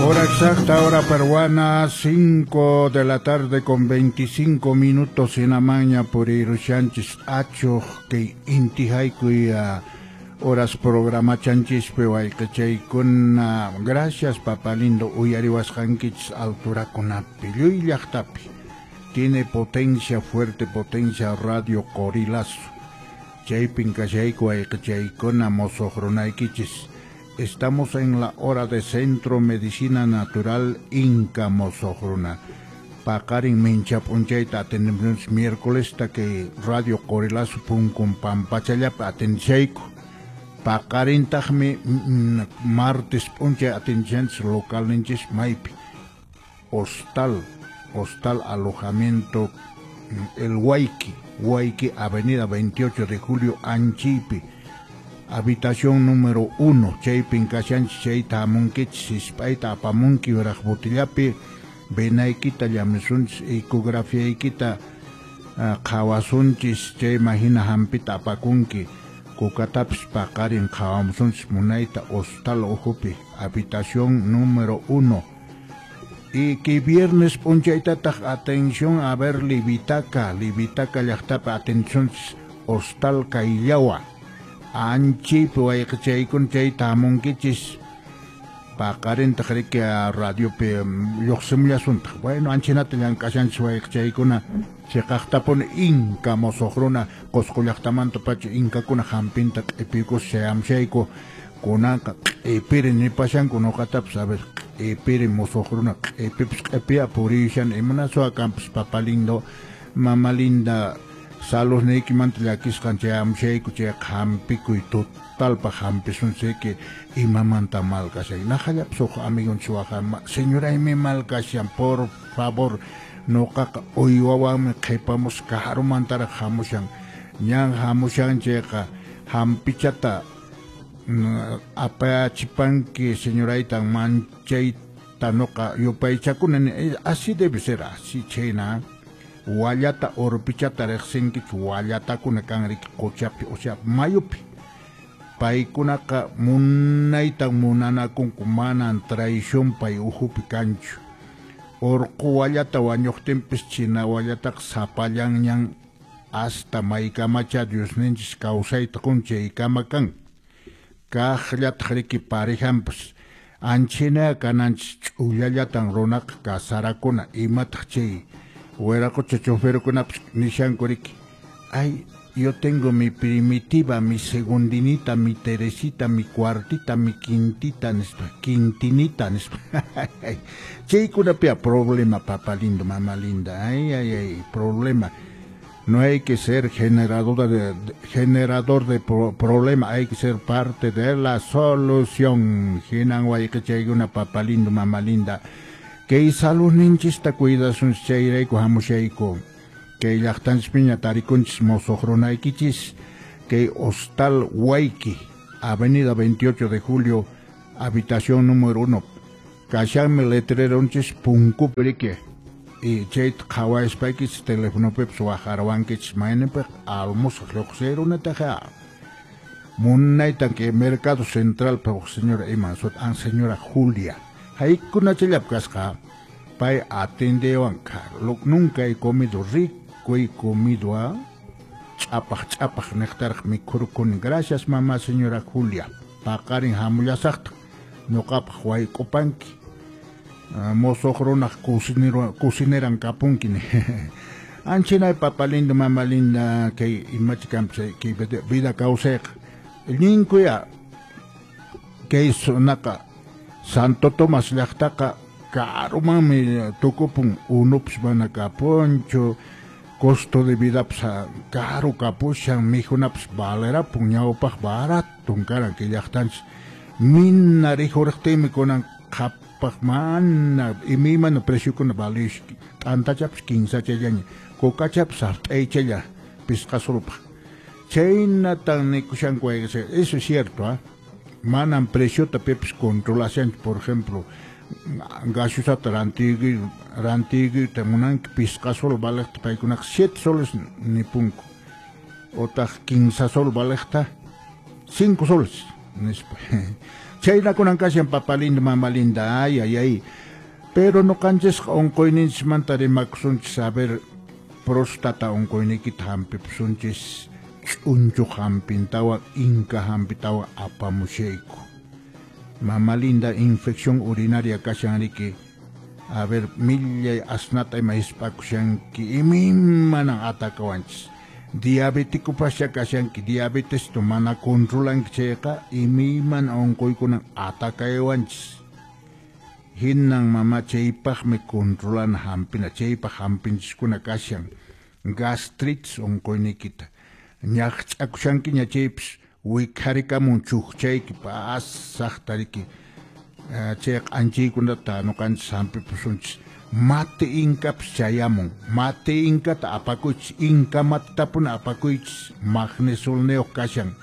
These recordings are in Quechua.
Hora exacta, hora peruana, 5 de la tarde con 25 minutos en Amaña por Irushanchis Acho, que inti haykuy horas programa chanchispi wayqichaykuna. Gracias, papá lindo, uyariwasqankichis alturakunapi, lluy llaqtapi. Tiene potencia, fuerte potencia Radio Qorilazo. Chaypin kashayku wayqichaykuna mosoq runaykichis. Estamos en la hora de Centro Medicina Natural Inca mosoq runa. Paqarin mincha p'unchayta atendemos miércoles ta que Radio Qorilazo punkun pampachallapi atendishayku. Paqarintaqmi martes p'unchay atendishanchis localninchis maypi. Hostal Alojamiento El Huayqui, Huayqui, Avenida 28 de Julio, Anchipi. Habitación número 1, chaypin kashanchis chayta hamunkichis, hisp'ayta apamunki yuraq botillapi, venaykita llamisunchis, ecografiaykita qhawasunchis, chayman hina hampita apakunki, kukatapis paqarin qhawamusunchis munayta hostal ukhupi, habitación número 1. Y que viernes p'unchaytataq atención a ver Livitaca, Livitaca llaqtapi atención hostal Kayllawa. Anchipi wayqichaykun chayta hamunkichis paqarintaq riki radiopi lluqsimullasuntaq. Bueno, anchinata llank'ashanchis wayqichaykuna chiqaqtapuni Inca mosoq runa Qusqu llaqtamanta pacha Inkakuna hampinta q'ipiykus chayamshayku kunanqa q'ipiri nipashanku nuqatapis a ver q'ipiri mosoq runa q'ipipis q'ipiya purishan imanaswa kanpis papá lindo mama linda saludniykimanta llakisqan chayamshayku chayqa hampikuy totalpaq hampisunchayki imamanta mal kashan. Naqallapis huk amigonchis waqa señoraymi mal kashan, por favor, nuqaqa uywawanmi qhipamus karumantaraq hamushan. Ñan hamushan chayqa hampichata apachipanki señoraytan manchayta nuqa yupaychakuna. Así debe ser, así chayna. Wallata urpichata riqsinkichu wallatakuna kan riki quchapi, o sea, mayupi. Paykunaqa munaytan munanakunku, manan traición pay uhupi kanchu. Urqu wallata wañuqtinpis china wallataqa sapallanñan hasta maykamacha Diosninchis kawsayta qun chaykama kan. Kaqllataq riki parejanpis anchina kananchis ch'ullallatan runaqa kasarakuna imataq chay wiraqocha choferkunapis nishanku riki. Ay, yo tengo mi primitiva, mi segundinita, mi teresita, mi cuartita, mi quintita, nispa, quintinita, nispa. Chaykunapia problema, papá lindo, mamá linda. Ay, ay, ay, problema. No hay que ser generador de problema, hay que ser parte de la solución. Hinan wayqichaykuna, papá lindo, mamá linda. Kay saludninchista cuidasunchis chayrayku hamushayku. Kay llaqtanchispiña tarikunchis mosoq runaykichis. Kay Hostal Huayqui, Avenida 28 de Julio, habitación número 1. Kashanmi letreronchis punkupi riki. Y chayta qhawaspaykichis telefonopipis waqarwankichis mayninpiq almusaq lluqsirunataqa. Munaytan kay Mercado Central huk señora iman sut an señora Julia. Haykunachallap kasqa pay atendewan nunca he comido rico he comido a ch'apaq ch'apaq niqtaraq mikhurkuni. Gracias mamá señora Julia. Paqarin hamullasaqta ñuqapaq wayk'upanki. Mosoq runaq cocineran kapunki. Anchinay papá lindo mamá linda kay imachi kanpis kay vida kawsayqa. Ninkuya kay sunaqa Santo Tomás llaqtaqa karumanmi tukupun unupis mana kapunchu, costo de vidapis karu kapushan, mikhunapis valerapun, ñawpaq baratun karan kay llaqtanchis. Mina rikhuriqtinmi kunan qhapaq mana imaymana preciokuna valish, t'antachapis kinsachallaña, kukachapis sart'aychalla pisqa sulpaq. Chaynatan nikushanku eso es cierto, ¿ah? Manan preciota pipis controlashanchu, por ejemplo, gaseosata rantiykuyta munanki pisqa sol valeqta paykunaqa 7 soles nipunku, otaq 15 sol valeqta 5 soles nispa. Chaynakunan kashan papa lindo, mama linda, ay, ay, ay. Pero nuqanchisqa unquyninchismanta rimakusunchis, a ver, próstata unquyniykita hampipusunchis, ch'unchuq hampintawan, inka hampitawan apamushayku. Mama linda, infección urinaria kashan riki. A ver, millay asnata ima hisp'akushanki, imaymanan atakawanchis. Diabéticopascha kashanki, diabetes tu mana controlanki chayqa, imaymana unquykunan atakaywanchis. Hinan mama chaypaqmi controlana hampina, chaypaq hampinchiskuna kashan. Gastritis unquyniykita. Ñaqch'akushankiña chaypis wikharikamun chukchayki pasaqta riki. Chay q'anchiykunata nuqanchis hampipusunchis. Mate inkapas chayamun, mate inkata apakuychis, inka matatapuni apakuychis, magnesolniyuq kashan.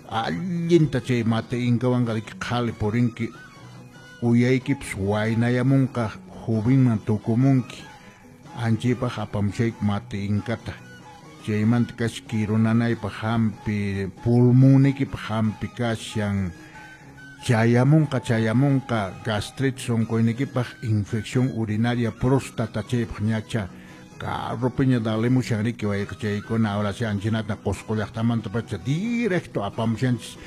Allinta chay mate inkawanqa riki qhali purinki, uyaykipas waynayamunqa, jovenman tukumunki. Anchaypaq apamushayku mate inkata. Chaymanta kashan kirunanaypaq hampi, pulmonniykipaq hampi kashan. Chayamunqa, chayamunqa, gastritis unquyniykipaq, infección urinaria, próstata chaypaq ñacha, carropiña dalimushan riki wayqichaykuna, ahora sí anchinata Qusqu llaqtamantapacha directo apamushanchis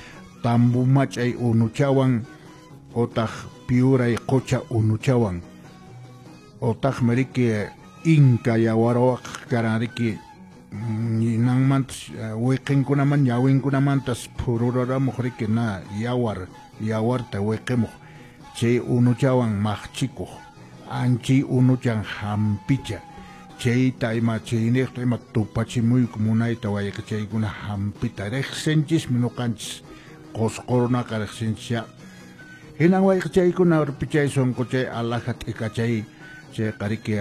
tambu mach'ay unuchawan, otaq piuray qucha unuchawan, otaqmi riki inka yawarwaq karan riki, ninanmantas wiqinkunaman ñawinkunamantas phururaramuq riki na yawar, yawarta wiqimuq, chay unuchawan maqchikuq, anchay unuchan hampicha, chayta ima chayniqta ima tupachimuyku munayta wayqichaykuna hampita riqsinchismi nuqanchis, Qusqu runaqa riqsinchisya. Hinan wayqichaykuna urpichay sunquchay alaja t'ikachay, chayqa riki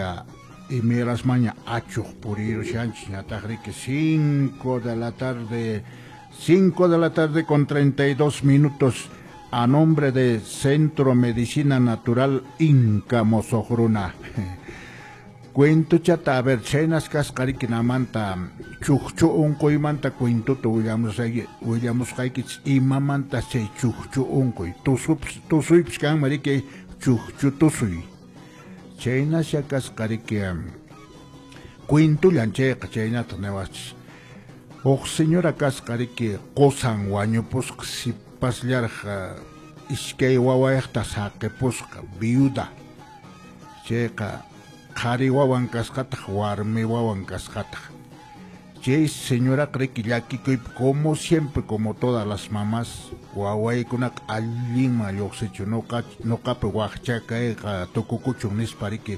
imayrasmaña achuq purirushanchis, ñataq riki 5 de la tarde, 5 de la tarde con 32 minutos, a nombre de Centro Medicina Natural Inca Mosoqruna. Cuento chata, a ver, chaynas kasqa riki namanta, chukchu unquymanta cuentuta willamusqaykichis, imamanta chay chukchu unquy, tusuypis kanman riki chukchu tusuy. Chaynasya kasqa riki, cuentullan chayqa chaynata niwachis. Huk señora kasqa riki qusan wañupusqa, sipasllaraq iskay wawayaqta saqipusqa, viuda. Chayqa qhari wawan kasqataq, warmi wawan kasqataq. Chay señoraqa riki llakikuypi, como siempre, como todas las mamás, wawaykunaqa allinman lluqsichu, nuqapi waqcha kayqa tukukuchun nispa riki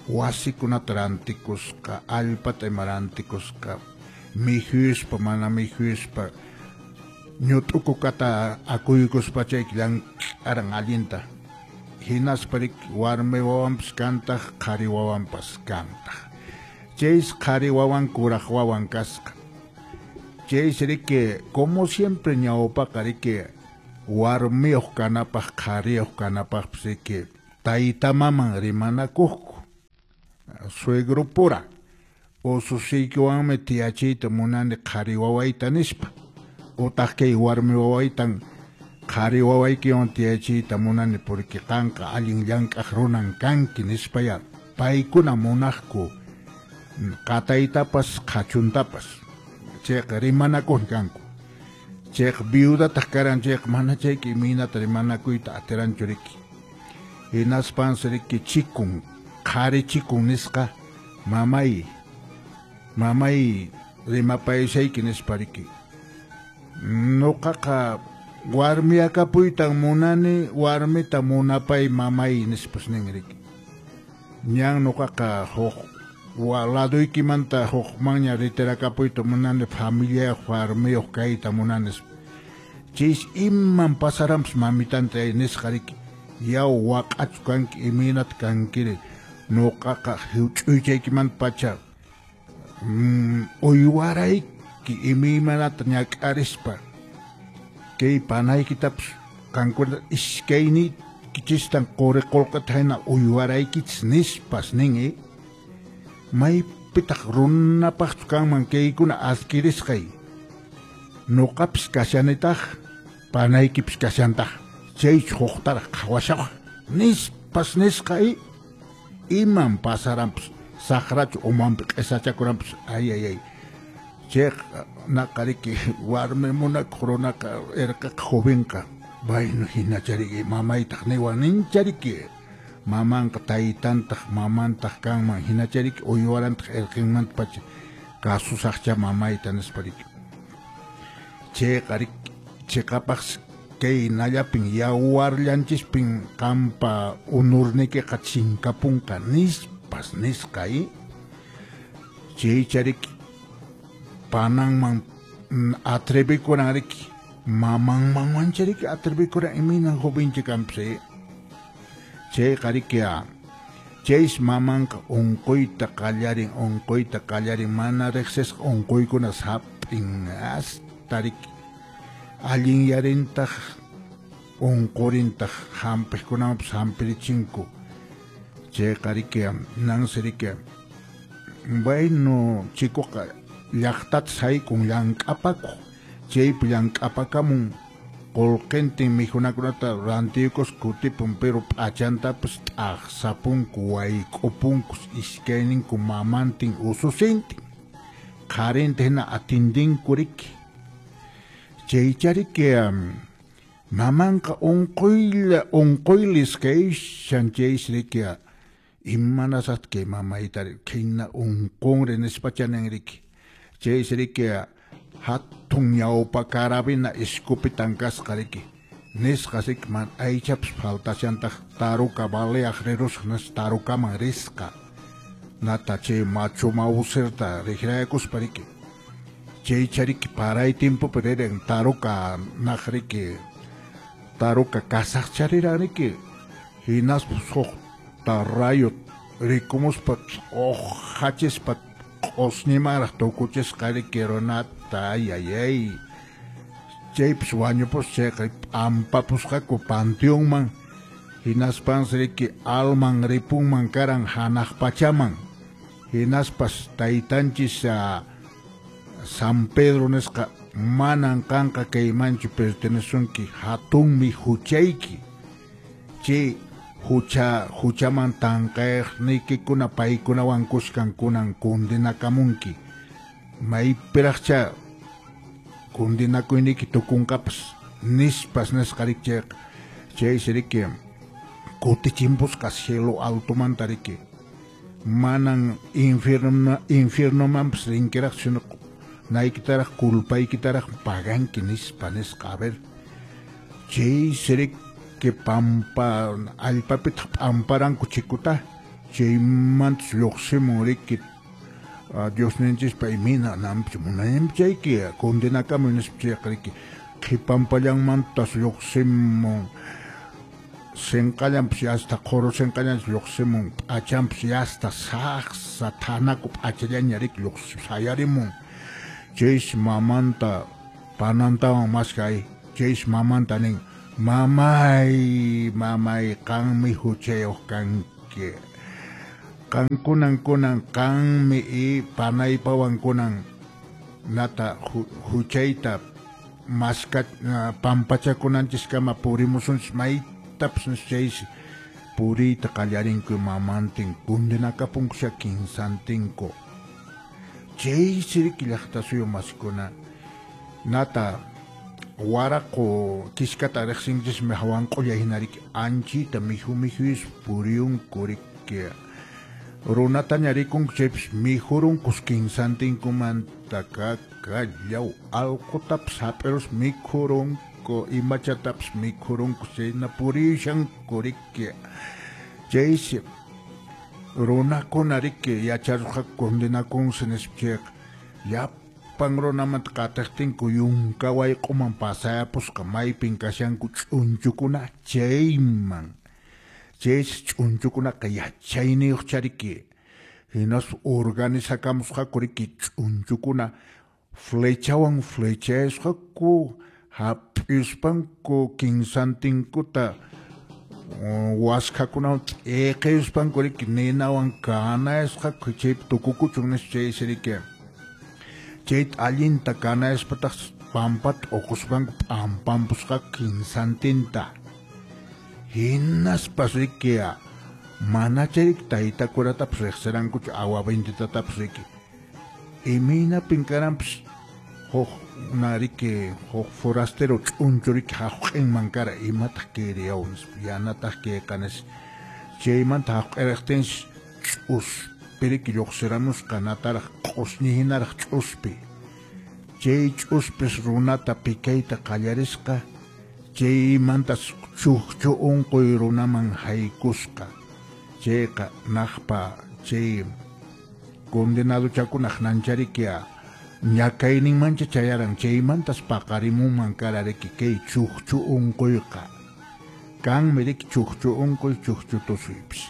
wasikunata rantikusqa, allpata ima rantikusqa, mikhuyuspa mana mikhuyuspa, ñut'ukukata akuykuspa chayki llank'aran allinta. Hinaspa riki warmi wawanpas kantaq, qhari wawanpas kantaq. Chaysi qhari wawan kuraq wawan kasqa. Chaysi riki, como siempre ñawpaqa riki warmiyuq kanapaq, qhariyuq kanapaqpis riki tayta maman rimanakuqku, suegropura, ususiykiwanmi tiyachiyta munani qhari wawayta nispa, utaq kay warmi wawaytan qhari wawaykiwan tiyachiyta munani porque qanqa allin llank'aq runan kanki nispaya paykuna munaqku qataytapas qhachuntapas. Chayqa rimanakuq kanku. Chayqa viudataq karan, chayqa mana chayki imaynata rimanakuyta atiranchu riki. Hinaspansi riki chikun, qhari chikun nisqa, mamay, mamay rimapayashayki nispa riki. Nuqaqa warmiakapuytan munani, warmita munapay mamay nispas nin riki. Ñan nuqaqa huk laduykimanta hukmanña ritirakapuyta munani, familiayuq warmiyuq kayta munani. Chaysi iman pasaranpas mamitanta nisqa riki, yaw waq'achu kanki, imaynata kankiri, nuqaqa huch'uychaykimanta pacha uywarayki imaymanata ñak'arispa, kay panaykitapas qankuna iskayniykichistan quri qullqita hina uywaraykichis nispas nin. Maypitaq runapaqchu kanman kaykuna adquirisqay, nuqapis kashanitaq, panaykipis kashantaq. Chay huqtaraq qhawashaq nispas nisqa iman pasaranpas saqrachu umanpi q'isachakuranpas ay ay ay chayqa naqariki warmi munakuq runaqa irqiqa jovenqa bueno hinachariki mamaytaq niwan ninchariki mamanqa taytantaq mamantaq kanman hinachariki uywarantaq irqinmantapacha kasusaqcha mamayta nispariki chayqa riki chiqapaq kay nallapin yawarllanchispin qampa unurnikiqa chinkapunqa nispas nisqa chaychariki pananman atrevikuran riki mamanman chariki atrevikuran imaynan jovencha kanpas chayqa riki chays mamanqa unquyta qallarin mana riqsisqa unquykuna hap'in hasta riki allinyarintaq unqurintaq hampiqkunamanpas hampirichinku chayqa riki nansi riki bueno chikuqa llaqtata saykun llank'apakuq chaypi llank'apakamun qullqintin mikhunakunata rantiykus kutipun pero p'achantapas t'aqsapunku wayk'upunkus iskayninku mamantin ususintin qharinta hina atindinku riki chaychariki mamanqa unquylis kayshan chaysi riki imanasaqta kay mamaytari khayna unqunri nispachanin riki chaysi riki hatun ñawpa carabina escopetan kasqa riki nisqa riki man aychapas faltashantaq taruka baleaq rirusqa nispa tarukaman risqa nata chay machu mawsirta riqraykuspa riki chaychariki paray timpupi riran taruka naq riki taruka kasaqchariran riki hinaspa suqta rayo rikumuspa t'uqhachispa q'usñimanraq tukuchisqa riki runata ay ay ay chaypis wañupusqa chayqa p'ampapusqaku panteonman hinaspansi riki alman ripunman karan hanaq pachaman hinaspas taytanchis San Pedro nisqa manan qanqa kaymanchu pertenesunki hatunmi huchayki chay huchaman tanqayniykikuna paykunawan kuskan kunan kundinakamunki maypiraqcha kundinakuyniyki tukunqapas nispas nisqa riki chayqa chaysi riki kutichimpusqa cielo altomanta riki manan infiernomanpas rinkiraqchu sino naykitaraq culpaykitaraq paganki nispa nisqa a ver chaysi riki pampa allpapitaq p'amparanku chikuta chaymantas lluqsimun riki Diosninchispa imayna nanpis munayninpi chayki kundinakamuy nispa chayqa riki qhipampallanmantas lluqsimun sinqallanpas hasta qhuru sinqallanpas lluqsimun p'achanpas hasta saqsa thanaku p'achallaña riki sayarimun chaysi mamanta panantawan maskay chaysi mamanta nin mamay mamay qanmi huchayuq kanki qankunan kunan qanmi y panaypawan kunan nata huchayta maska pampachakunanchiskama purimusunchis maytapas chaysi puriyta qallarinku mamantin kundinakapunkusha kinsantinku chaysi riki llaqta suyu masikuna nata waraqu kiskata riqsinchismi hawanq'ulla hina riki anchita mikhu mikhuyuspa puriyunku riki runataña rikunku chaypis mikhurunkus kinsantinkumanta kakallaw allqutapas hap'iruspa mikhurunku imachatapas mikhurunku chayna purishanku riki chaysi runakuna riki yacharusqaku kundinakunsi nispa chayqa llapan runamanta qatiqtinku yunka wayq'uman pasayapusqa maypin kashanku ch'unchukuna chayman chaysi ch'unchukunaqa yachayniyuqcha riki hinaspa organizakamusqaku riki ch'unchukuna flechawan flechayasqaku hap'ispanku kinsantinkuta waskhakunawan t'iqispanku riki ninawan kanayasqaku chaypi tukukuchun nispa chaysi riki chayta allinta kanayaspataq pampata uquspanku p'ampampusqaku kinsantinta. Hinaspas riki mana chay tayta kuratapas riqsirankuchu agua benditatapas riki. Imaynapin karanpas huk riki huk forastero ch'unchu riki haq'inman kara imataq kayriyaw nispa yanataq kayqa nispa chaymanta haq'iriqtinsi ch'uspi riki lluqsiramusqa nataraq q'usñi hinaraq ch'uspi chay ch'uspis runata pikayta qallarisqa chaymantas chukchu unquy runaman haykusqa chayqa naqpa chay condenadochakunaq nancharikia ñakayninmancha chayaran chaymantas paqarimunman kara riki kay chukchu unquyqa kanmi riki chukchu unquy chukchu tusuypis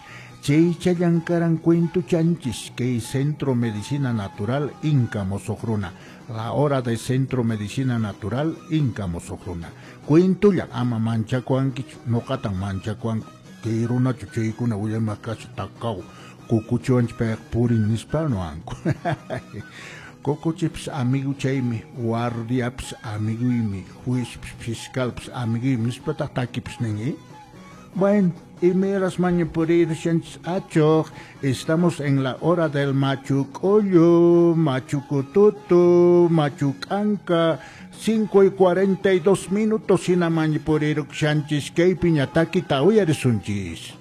chaychallan karan cuentuchanchis kay Centro Medicina Natural Inca Mosoq Runa, la hora de Centro Medicina Natural Inca Mosoq Runa. Cuentulla ama manchakuankichu nuqatan manchakuanku kay runachu chaykuna willamaq kasha takaw kukuchiwanchik payqa purin nispa nuwanku. Kukuchipis amigo chaymi, guardiapis amiguymi, juezpis fiscalpis amiguymi nispataq takipis nin. Bueno, y miras mañapurir achoq, estamos en la hora del machucollo, machucututu, machucanca, 5:42 hina mañapurir shanchis kaypi ñatakita uyarisunchis.